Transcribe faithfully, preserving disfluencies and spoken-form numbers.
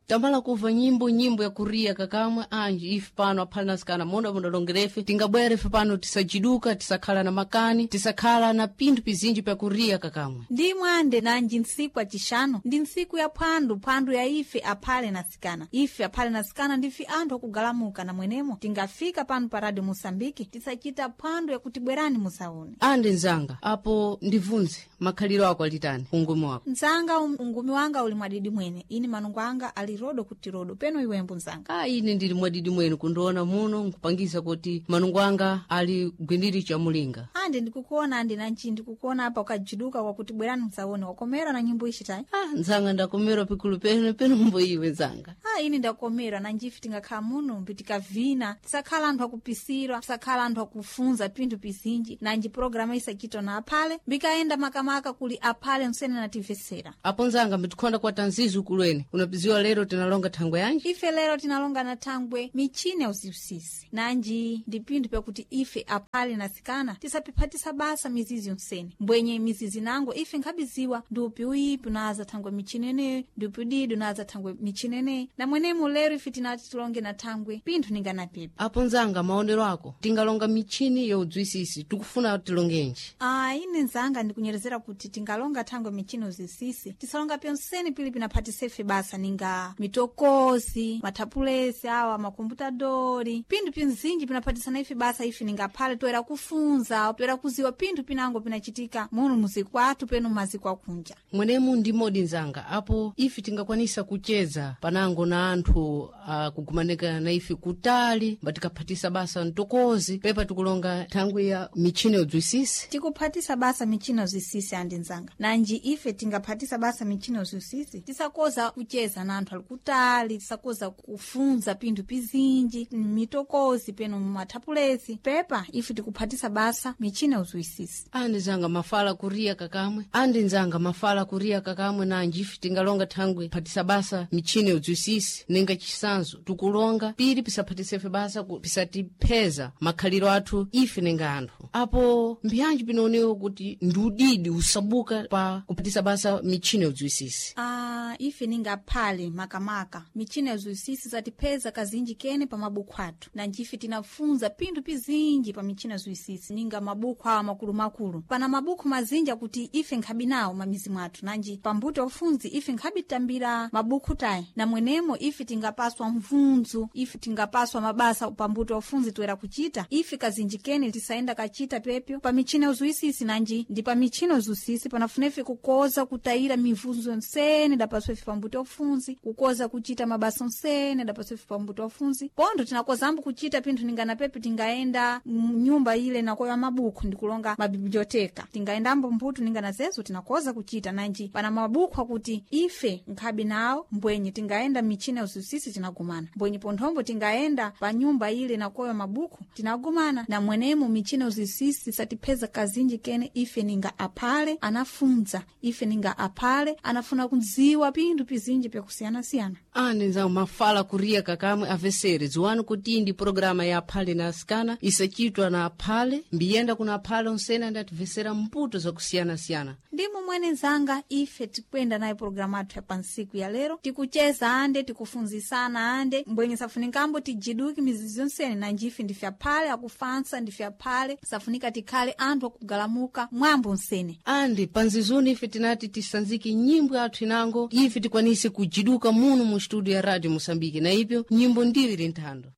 Tamala kuva nyimbo nyimbo ya kuriya kakamwe anji ife pano aphale na asikana monda mundalongerefe tingabwere ife pano tisajiduka, tisakhala na makani, tisakhala na pinthu pizinji pya kuriya kakamwe. Ndimwe ande nanji ntsiku acixanu ndi ntsiku ya phwandu, phwandu ya ife aphale na sikana. Ife aphale na sikana ndife anthu akugalamuka, na mwenemo tingafika pano pa Radio Moçambique tisachita phwandu yakuti bwerani musaone. Ande nzanga, apo ndivunze, makhaliro ako alitani ungumi wako? Nzanga, um- ungumi wanga uli mwadidi mwene, ini manungo anga ali rodo kuti rodo peno iwembu nzanga. A, ine ndili mwadidi mwene, kundiona muno nkupangisa kuti manungo anga ali gwindiri chamulinga. Ande ndikukuona, ande nanji ndikukuona apa ukajiduka kwakuti bwerani musaone, wakomera na nyimbo ixitayi. Ah, nzanga, ndakomera pikulu peno peno mbo iwe nzanga? Ah, ini ndakomera, nanjife tingakhala muno mbitikavina, tisakhala anthu akupisirwa, tisakhala anthu akufunza pinthu pizinji. Nanji programa isachitwa na aphale mbikaenda makamaka kuli aphale msene natimvesera. Apo nzanga, mbitikhonda kwa tanzizu kulweni unapiziwa lero tinalonga thangwe yanji? Ife lero tinalonga na thangwe michini ya uziusisi, nanji ndi pinthu pyakuti ife aphale na sikana tisapiphatisa basa mizizi yonsene, mbwenye mizizi nango ife nkhabiziwa ndi upi uyipi unaza thangwe michini eneyo, ndi upi udidi unaza thangwe michini eneyi. Na mwenemo lero ife tinati tilonge na thangwe pinthu ninganapipi. Apo nzanga, maonero ako tingalonga michini ya udzwisisi, tikufuna tilongenji? Ah, ine nzanga ndikunyerezera kuti tingalonga thangwe michini uzisisi, tisalonga pyonsene pili pinaphatisefe basa ninga mitokozi, mathapulesi awa, makomputadori, pinthu pinzinji pinaphatisana ife basa. Ife ningaphale toera kufunza, toera kuziwa pinthu pinango pinachitika muno muziku athu peno maziko akunja. Mwenemu ndi modi nzanga, apo ife tingakwanisa kucheza panango na anthu akugumanika na ife kutali, mbatikaphatisa basa mtokozi pepa tikulonga thangwi ya michini ya udzwisisi. Tikuphatisa basa michini uzisisi andi nzanga, nanji ife tingaphatisa basa michini uzisisi tisakoza kucheza na anthu ali kutali, tisakoza kufunza pinthu pizinji mitokozi peno mumathapulesi, pepa ife tikuphatisa basa michini uzwisisi. Andi nzanga, mafala kuriya kakamwe, andi nzanga, mafala kuriya kakamwe. Nanji ife tingalonga thangwi phatisa basa michini udzwisisi, ninga chisanzo tikulonga pili pisaphatisefe basa ku- pisatipheza makhaliro athu ife ninga anthu. Apo mbyanji pinaonewa kuti ndi udidi usabuka pa kuphatisa basa michini udzwisisi? Ah, ife ningaphale makamaka michini yazwisisi zatipheza kazinji kene pa mabuku athu, nanji ife tinafunza pinthu pizinji pa michini yazwisisi ninga mabuku awa makulumakulu. Pana mabuku mazinji akuti ife nkhabi nawo mamizi mwathu, nanji pambuto ufunzi ife nkhabi tambira mabuku tayi, na mwenemo ife tingapaswa mvunzu, ife tingapaswa mabasa pambuto ufunzi toera kuchita, ife kazinji kene tisaenda kachita pepyo pa michini yauzwisisi. Nanji ndi pa michini yauzwisisi panafuna ife kukoza kutayira mivunzo yonsene dapaswa ife pambuto ufunzi, kukoza kuchita mabasa onsene dapaswa ife pambuto ufunzi. Pontho tinakozambo kuchita pinthu ningana pepe tingaenda mnyumba ile nakoya mabuku ndikulonga mabiblioteka, tingaendambo mbuto ningana zezo tinakoza kuchita. Nanji pana mabuku akuti ife nkhabi nawo, mbwenye tingaenda michini yauzwisisi tinagumana, mbwenye ponthombo tingaenda pa nyumba ile nakoya mabuku tinagumana. Na mwenemo michini yauzwisisi satipheza kazinji kene ife ninga aphale anafunza, ife ninga aphale anafuna kudziwa pinthu pizinji pyakusiyanasiyana. Andi nzanga, mafala kuriya kakamwe. Avesere, dziwani kuti ndi programa ya aphale na asikana isachitwa na aphale, mbiyenda kuna aphale onsene andativesera mputo zakusiyanasiyana. Ndimo mwene nzanga, ife tikwenda nayo programu athu ya pansiku ya lero, tikucheza ande tikufunzisana ande mbwenye safunikambo tijiduki mizizi yonsene. Nanji ife ndife aphale akufansa, ndife aphale safunika tikhale anthu akugalamuka mwambo nsene. Andi panzizuni ife tinati tisanzike nyimbo athu inango ife tikwanise kujiduka muno mu studio ya Radio Moçambique, na ipyo nyimbo ndiyo ili nthando.